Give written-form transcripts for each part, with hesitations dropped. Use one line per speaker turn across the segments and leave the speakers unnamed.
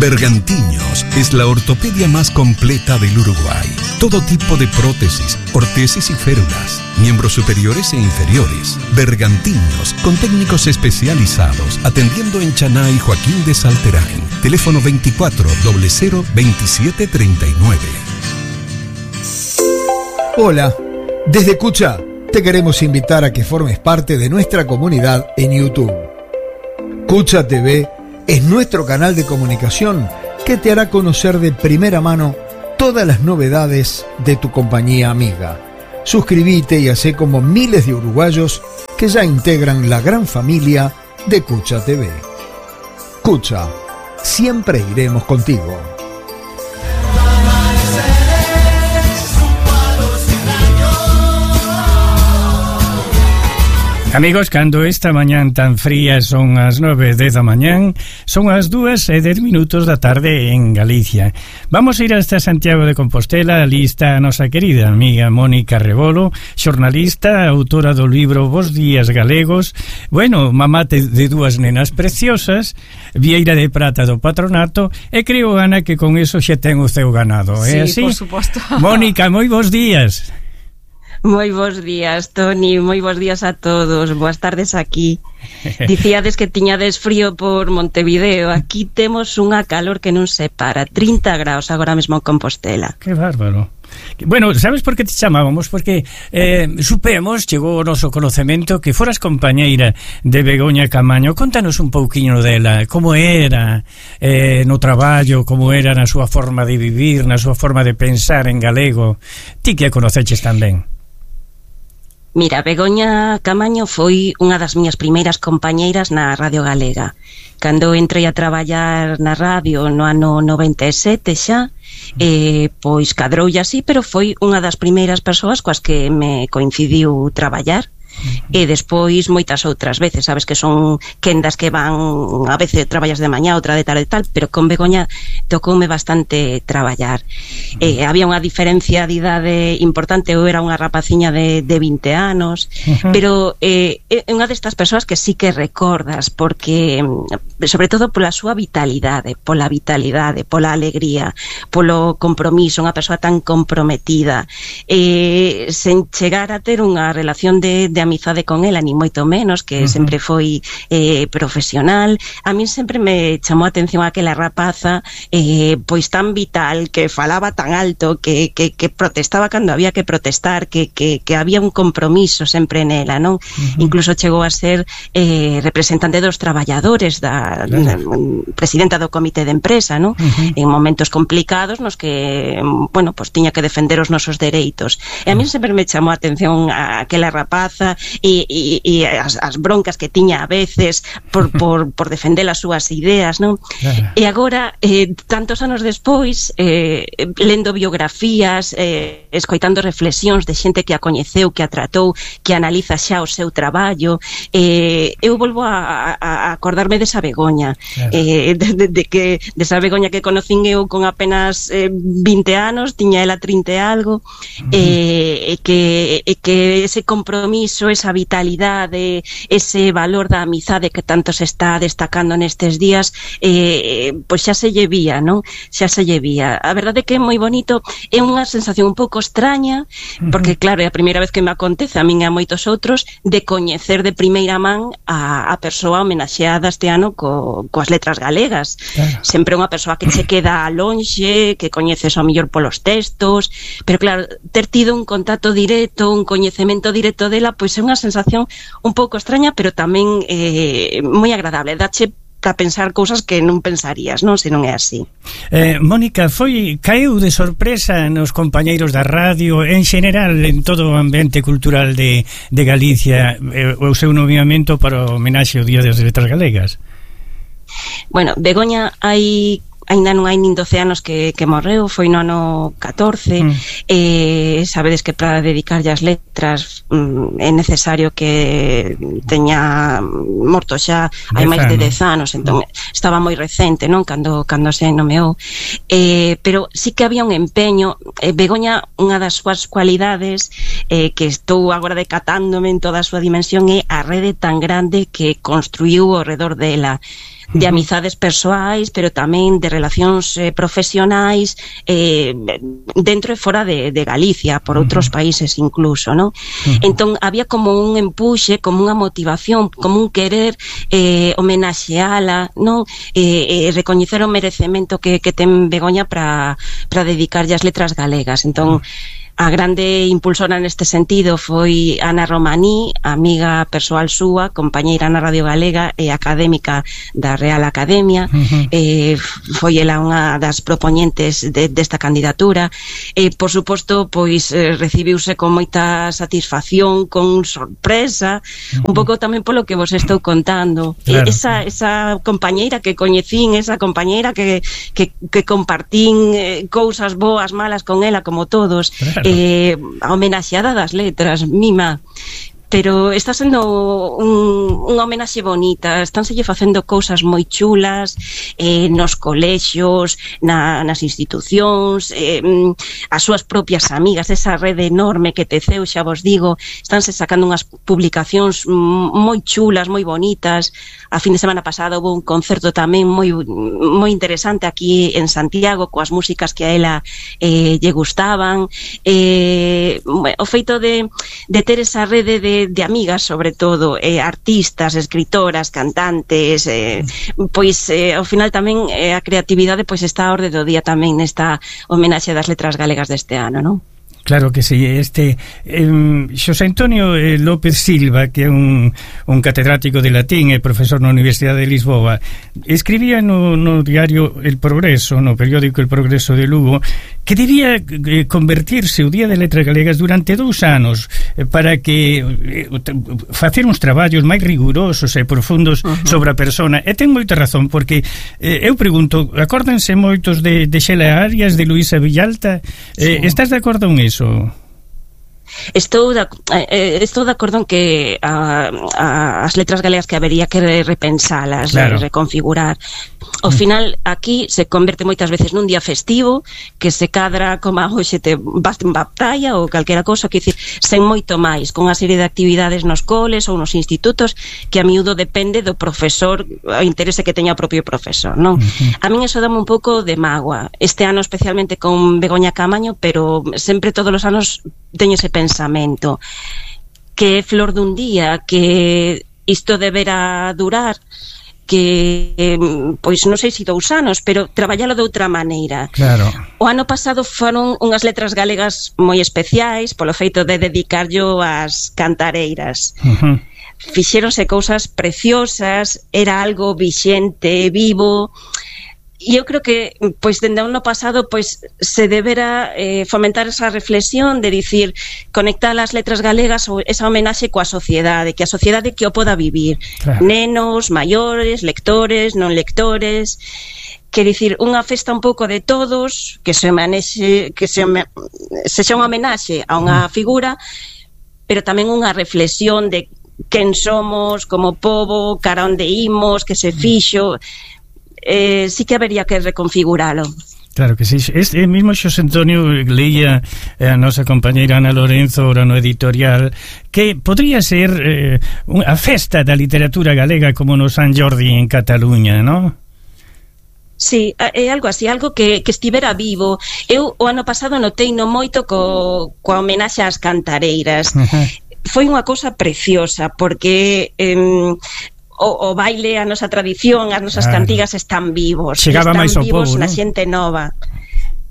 Bergantiños es la ortopedia más completa del Uruguay. Todo tipo de prótesis, ortesis y férulas, miembros superiores e inferiores. Bergantiños, con técnicos especializados, atendiendo en Chaná y Joaquín de Salterain. Teléfono 24 00 27 39.
Hola, desde Cucha te queremos invitar a que formes parte de nuestra comunidad en YouTube. Cucha TV es nuestro canal de comunicación que te hará conocer de primera mano todas las novedades de tu compañía amiga. Suscríbete y hacé como miles de uruguayos que ya integran la gran familia de Cucha TV. Cucha, siempre iremos contigo.
Amigos, cando esta mañán tan fría son as 9:10 da mañán, son as 2:10 da tarde en Galicia. Vamos a ir hasta Santiago de Compostela. Ali está a nosa querida amiga Mónica Rebolo, xornalista, autora do libro Bos Días Galegos, bueno, mamá de dúas nenas preciosas, vieira de prata do patronato, e creo, Ana, que con eso xa ten o seu ganado, é así?
Sí, por suposto.
Mónica, moi bons días.
Moi bons días, Toni, moi bons días a todos, boas tardes aquí. Dicíades que tiñades frío por Montevideo, aquí temos unha calor que non se para, 30 graus agora mesmo en Compostela.
Que bárbaro. Bueno, sabes por que te chamábamos? Porque supemos, chegou o noso conocemento, que foras compañeira de Begoña Camaño. Contanos un pouquiño dela, como era no traballo, como era na súa forma de vivir, na súa forma de pensar en galego. Ti que a conoceches tamén.
Mira, Begoña Camaño foi unha das miñas primeiras compañeiras na Radio Galega. Cando entrei a traballar na radio no ano 97 xa, pois cadroulle así, pero foi unha das primeiras persoas coas que me coincidiu traballar. E despois moitas outras veces, sabes que son quendas que van, a veces traballas de mañá, outra de tarde e tal, pero con Begoña tocoume bastante traballar. Había unha diferencia de idade importante, eu era unha rapaciña de 20 anos, pero é unha destas persoas que sí que recordas, porque sobre todo pola súa vitalidade, pola alegría, polo compromiso, unha persoa tan comprometida, sen chegar a ter unha relación de amizade con ela, ni moito menos, que sempre foi profesional. A min sempre me chamou a atención aquela rapaza pois tan vital, que falaba tan alto, que protestaba cando había que protestar, que había un compromiso sempre nela, non? Incluso chegou a ser representante dos traballadores, presidenta do comité de empresa, non? En momentos complicados nos que, bueno, pues tiña que defender os nosos dereitos. E a min sempre me chamou a atención aquela rapaza e as broncas que tiña a veces por defender as súas ideas, non? Claro. E agora, tantos anos despois, lendo biografías, escoitando reflexións de xente que a coñeceu, que a tratou, que analiza xa o seu traballo, eu volvo a acordarme desa Begoña, claro. Desa Begoña que conocín eu con apenas 20 anos, tiña ela 30 e algo, e que ese compromiso, esa vitalidade, ese valor da amizade que tanto se está destacando nestes días, pois xa se lle vía, non? Xa se lle vía. A verdade é que é moi bonito, é unha sensación un pouco extraña, porque claro, é a primeira vez que me acontece a min e a moitos outros de coñecer de primeira man a persoa homenaxeada este ano coas letras galegas. Claro. Sempre unha persoa que se queda lonxe, que coñeces ao mellor polos textos, pero claro, ter tido un contacto directo, un coñecemento directo dela, pois é unha sensación un pouco extraña, pero tamén moi agradable. Dache a pensar cousas que non pensarías, non? Se non é así.
Mónica, caeu de sorpresa nos compañeiros da radio, en xeral, en todo o ambiente cultural de Galicia, o seu nomeamento para o homenaxe ao Día das Letras Galegas?
Bueno, Begoña aínda non hai nin 12 anos que morreu, foi no ano 14, sabedes que para dedicarlle as letras é necesario que teña morto xa hai máis de 10 anos, entón estaba moi recente, non? Cando se nomeou, pero sí que había un empeño. Begoña, unha das súas cualidades, que estou agora decatándome en toda a súa dimensión, é a rede tan grande que construiu ao redor dela. de amizades persoais, pero tamén de relacións profesionais dentro e fora de Galicia, por outros países incluso, non? Entón había como un empuxe, como unha motivación, como un querer homenaxeala, non? Recoñecer o merecemento que ten Begoña para dedicarlle as letras galegas. Entón a grande impulsora neste sentido foi Ana Romaní, amiga persoal súa, compañeira na Radio Galega e académica da Real Academia. Foi ela unha das propoñentes desta candidatura. Por suposto, pois recibiuse con moita satisfacción, con sorpresa, un pouco tamén polo que vos estou contando. Claro. Esa compañeira que coñecín, esa compañeira que compartín cousas boas, malas con ela, como todos. Claro. A homenaxeada das letras, mima. Pero está sendo unha homenaxe bonita, estánse facendo cousas moi chulas nos colexios, nas institucións, as súas propias amigas, esa rede enorme que teceu, xa vos digo, estánse sacando unhas publicacións moi chulas, moi bonitas. A fin de semana pasada houve un concerto tamén moi interesante aquí en Santiago, coas músicas que a ela lle gustaban. O feito de ter esa rede de amigas, sobre todo, artistas, escritoras, cantantes, pois ao final tamén a creatividade pois está a orde do día tamén nesta homenaxe das letras galegas deste ano, non?
Claro que sí. Xosé Antonio López Silva, que é un catedrático de latín e profesor na Universidade de Lisboa, escribía no diario El Progreso, no periódico El Progreso de Lugo, que debía convertirse o Día de Letras Galegas durante 2 anos para que facer uns traballos máis rigurosos e profundos sobre a persona. E ten moita razón, porque eu pregunto, acórdense moitos de Xela Arias, de Luisa Villalta? Sí. Estás de acordo con iso?
Estou de acordo en que as letras galegas que habería que repensalas, claro, reconfigurar. Ao final aquí se converte moitas veces nun día festivo que se cadra como hoxe te vas en batalla ou calquera cousa, que dicir, sen moito máis, con unha serie de actividades nos coles ou nos institutos que a miúdo depende do profesor, o interese que teña o propio profesor, non? A min eso dame un pouco de mágoa. Este ano especialmente con Begoña Camaño, pero sempre todos os anos teño ese pensamento que é flor dun día, que isto deberá durar, que pois non sei se 2 anos, pero traballalo de outra maneira.
Claro.
O ano pasado foron unhas letras galegas moi especiais polo feito de dedicarllo ás cantareiras. Fixéronse cousas preciosas, era algo vixente, vivo. E eu creo que, pois, dende o ano pasado, pois, se debera fomentar esa reflexión de dicir, conectar as letras galegas ou esa homenaxe coa sociedade, que a sociedade que o poda vivir. Claro. Nenos, maiores, lectores, non lectores. Quer dicir, unha festa un pouco de todos, que sexa unha homenaxe a unha figura, pero tamén unha reflexión de quen somos como pobo, cara onde imos, que se fixo. Sí que habería que reconfiguralo.
Claro que sí. Este mismo Xosé Antonio leía a nosa compañeira Ana Lorenzo ora no editorial que podría ser a festa da literatura galega como no San Jordi en Cataluña, non?
Sí, é algo así, algo que estivera vivo. Eu o ano pasado notei no moito coa homenaxe ás cantareiras. Foi unha cousa preciosa porque o baile, a nosa tradición, as nosas cantigas están vivos.
Chegaba máis ao pobo,
na xente nova.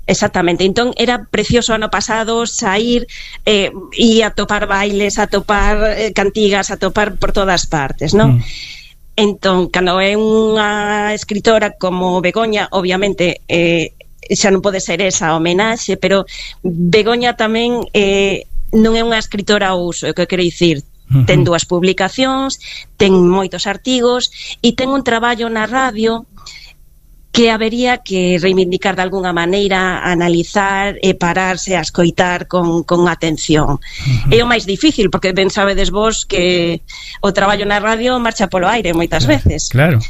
Exactamente. Entón era precioso ano pasado sair e a topar bailes, a topar cantigas, a topar por todas partes, non? Entón, cando é unha escritora como Begoña, obviamente xa non pode ser esa homenaxe, pero Begoña tamén non é unha escritora ao uso, é o que quero dicir. Ten 2 publicacións, ten moitos artigos e ten un traballo na radio que habería que reivindicar de alguna maneira, analizar e pararse a escoitar con atención. É o máis difícil, porque ben sabedes vos que o traballo na radio marcha polo aire moitas veces.
Claro.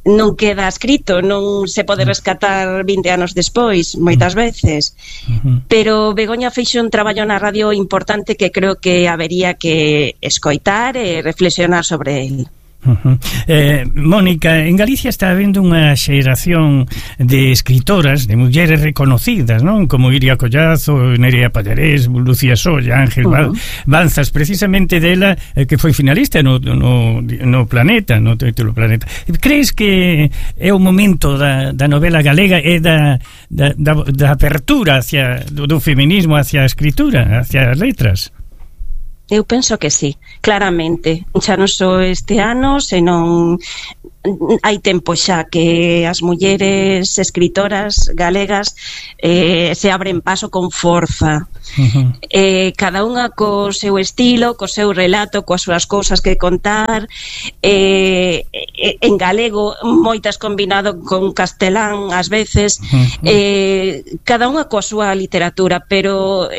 Non queda escrito, non se pode rescatar 20 anos despois, moitas veces. Pero Begoña fixo un traballo na radio importante que creo que habería que escoitar e reflexionar sobre ele.
Mónica, en Galicia está habendo unha xeración de escritoras, de mulleres reconocidas, non? Como Iria Collazo, Nerea Pallarés, Lucía Solla, Ángel Banzas, precisamente dela que foi finalista no Planeta, no título Planeta. Crees que é o momento da novela galega e da apertura hacia do feminismo hacia a escritura, hacia as letras?
Eu penso que sí, claramente. Xa non só este ano, senón hai tempo xa que as mulleres escritoras galegas se abren paso con forza. Cada unha co seu estilo, co seu relato, coas súas cousas que contar, en galego, moitas combinado con castelán ás veces, cada unha coa súa literatura, pero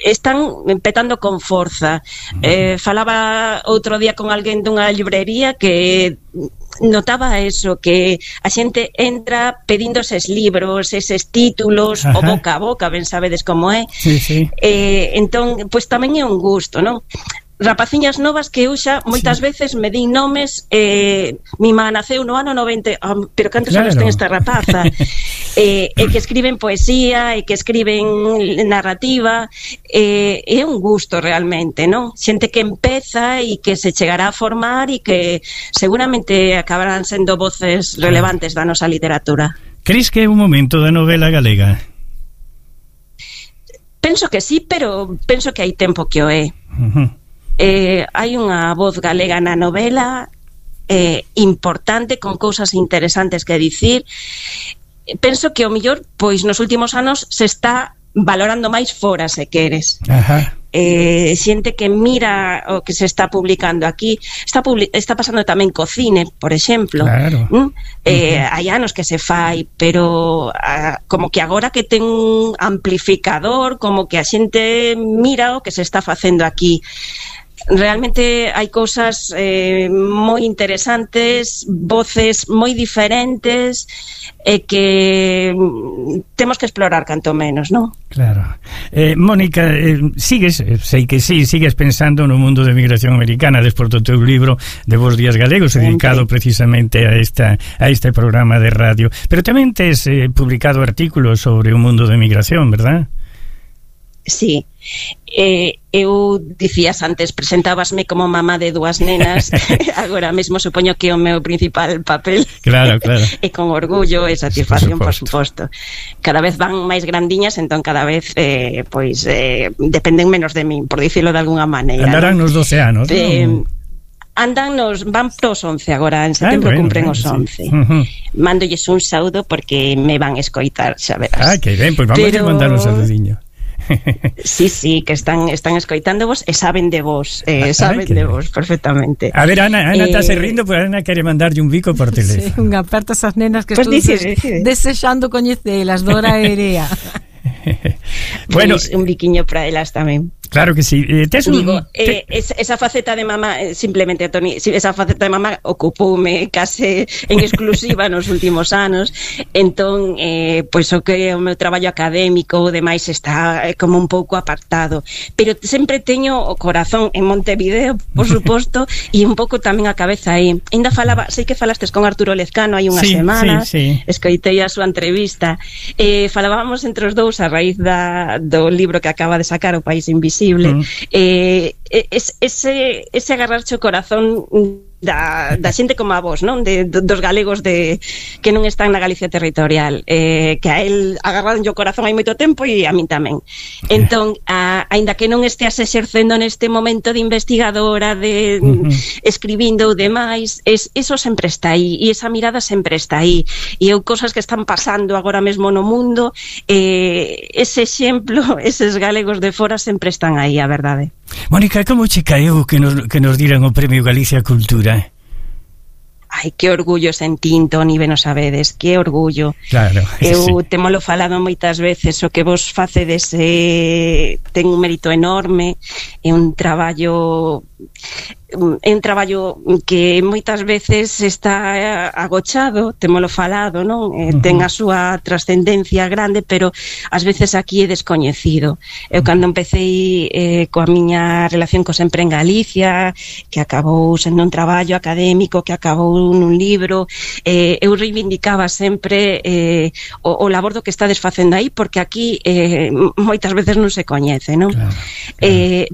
están petando con forza. Falaba outro día con alguén dunha librería que notaba eso, que a xente entra pedindo eses libros, eses títulos, o boca a boca, ben sabedes como é. Entón, pois tamén é un gusto, non? Rapaciñas novas que eu xa moitas veces me din nomes, mi má naceu no ano 90, pero cantos anos ten esta rapaza, e que escriben poesía, e que escriben narrativa, é un gusto realmente, non? Xente que empeza e que se chegará a formar e que seguramente acabarán sendo voces relevantes da nosa literatura.
Crees que é un momento da novela galega?
Penso que sí, pero penso que hai tempo que o é. Hai unha voz galega na novela importante, con cousas interesantes que dicir. Penso que o mellor, pois nos últimos anos se está valorando máis fora, se queres. Xente que mira o que se está publicando aquí. Está pasando tamén co cine, por exemplo. Hai anos que se fai, pero como que agora que ten un amplificador, como que a xente mira o que se está facendo aquí. Realmente hai cousas moi interesantes, voces moi diferentes, e que temos que explorar canto menos, non?
Claro. Mónica, sigues pensando no mundo de migración americana despois do teu libro de Bos Días Galegos, dedicado precisamente a este programa de radio, pero tamén tes publicado artículos sobre o mundo de migración, verdad?
Sí. Eu dicías antes, presentábasme como mamá de dúas nenas. Agora mesmo supoño que o meu principal papel,
claro.
E con orgullo e satisfacción, por suposto. Cada vez van máis grandiñas, entón cada vez dependen menos de min, por dicirlo de alguna maneira.
Andarán nos 12 anos,
van pros 11 agora, en setembro cumpren os 11. Mandolles un saúdo porque me van escoitar, xa verás.
Que ben, pois vamos a mandar un saludiño.
Sí, que están escoitándovos e saben de vos, de vos perfectamente.
A ver, Ana está se rindo, pero Ana quere mandarlle un bico por teléfono.
Un aperto a esas nenas que estou desexando coñecelas, Dora e Erea.
Bueno, un biquiño para elas tamén.
Claro que sí.
Esa faceta de mamá, simplemente, Toni, esa faceta de mamá ocupoume case en exclusiva nos últimos anos. Entón, pois o que o meu traballo académico demais está como un pouco apartado, pero sempre teño o corazón en Montevideo, por suposto, e un pouco tamén a cabeza aí. Ainda falaba, sei que falastes con Arturo Lezcano hai unhas semanas, escoitei a súa entrevista, falábamos entre os dous a raíz do libro que acaba de sacar, O País Invisible. Ese agarrarche o corazón da xente como a vos, non? Dos galegos que non están na Galicia territorial, que a él agarraron o corazón hai moito tempo e a min tamén. Entón, aínda que non esteas exercendo neste momento de investigadora, de escribindo ou demais, eso sempre está aí, e esa mirada sempre está aí, e eu cosas que están pasando agora mesmo no mundo, ese exemplo, eses galegos de fora sempre están aí, a verdade.
Mónica, como che caeu que nos diran o Premio Galicia Cultura?
Ai, que orgullo sentín, Toni, ben o sabedes, que orgullo.
Claro,
eu temolo falado moitas veces, o que vos facedes ten un mérito enorme, é un traballo é un traballo que moitas veces está agochado, témolo falado, non? Ten a súa trascendencia grande, pero ás veces aquí é descoñecido. Eu cando empecé coa miña relación co Sempre en Galicia, que acabou sendo un traballo académico, que acabou nun libro, eu reivindicaba sempre o labordo que estades facendo aí, porque aquí moitas veces non se coñece, non? Claro.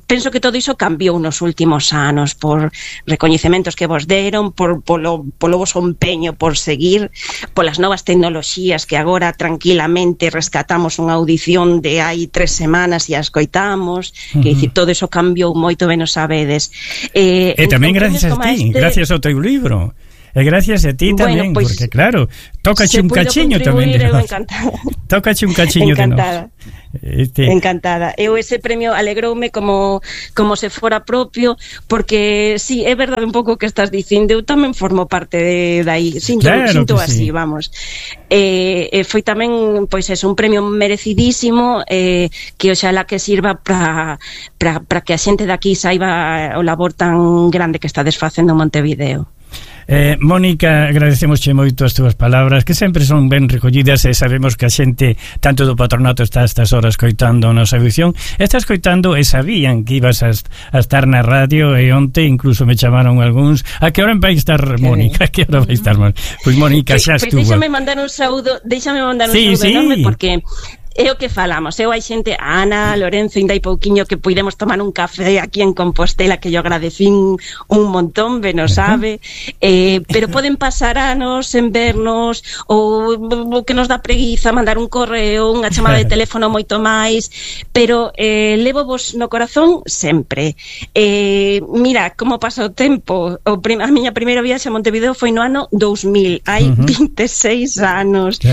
Penso que todo iso cambiou nos últimos anos, por recoñecementos que vos deron, polo voso empeño por seguir, polas novas tecnoloxías que agora tranquilamente rescatamos unha audición de hai 3 semanas e a escoitamos, que dicir, todo iso cambiou moito, ben o sabedes.
E tamén gracias a ti, gracias ao teu libro. E gracias a ti tamén, pues, porque claro, tócache un cachiño tamén de nós. Tócache un cachiño de nós.
Encantada. Eu ese premio alegroume como se fora propio, porque sí, é verdade un pouco que estás dicindo, eu tamén formo parte de aí, sinto así, sí. Vamos. Foi tamén, pois é un premio merecidísimo, que oxalá que sirva para que a xente de aquí saiba o labor tan grande que estades facendo en Montevideo.
Mónica, agradecemosche moito as túas palabras, que sempre son ben recollidas, e sabemos que a xente tanto do patronato está a estas horas coitando a nosa audición, está escoitando e sabían que ibas a estar na radio, e onte incluso me chamaron algúns: a que hora vai estar Mónica? A que hora vai estar Mónica? Pois Mónica xa estuvo.
Déixame mandar un saúdo enorme, porque é o que falamos, eu hai xente, Ana, Lorenzo, ainda hai pouquiño que puidemos tomar un café aquí en Compostela, que yo agradecín un montón, ben o sabe, pero poden pasar anos en vernos, ou que nos dá preguiza mandar un correo, unha chamada de teléfono moito máis, pero levo vos no corazón sempre. Mira como pasa o tempo. A miña primeira viaxe a Montevideo foi no ano 2000, hai 26 anos,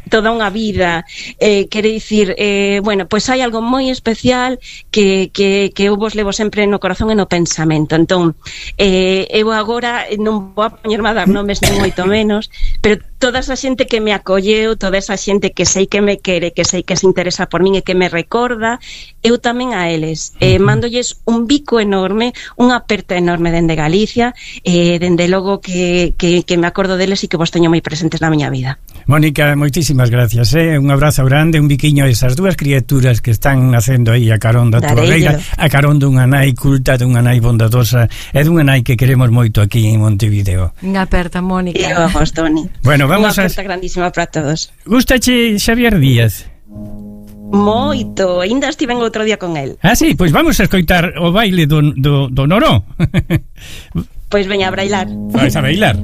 toda unha vida. Quere dicir, bueno, pois hai algo moi especial que eu vos levo sempre no corazón e no pensamento. Entón, eu agora non vou a poñerme a dar nomes nin moito menos, pero toda esa xente que me acolleu, toda esa xente que sei que me quere, que sei que se interesa por min e que me recorda, eu tamén a eles. Mándolles un bico enorme, unha aperta enorme dende Galicia, dende logo que me acordo deles e que vos teño moi presentes na miña vida.
Mónica, moitísimas gracias, un abrazo grande, un biquiño a esas dúas criaturas que están nacendo aí a carón da túa beira, a carón dunha nai culta, dunha nai bondadosa e dunha nai que queremos moito aquí en Montevideo.
Unha aperta, Mónica.
Eu a vos, Toni.
Bueno, vamos
unha aperta grandísima para todos.
Gústache Xavier Díaz?
Moito, ainda estiven outro día con el.
Ah, sí, pois vamos a escoitar o baile do Noró.
Pois veña a bailar.
Vais a bailar.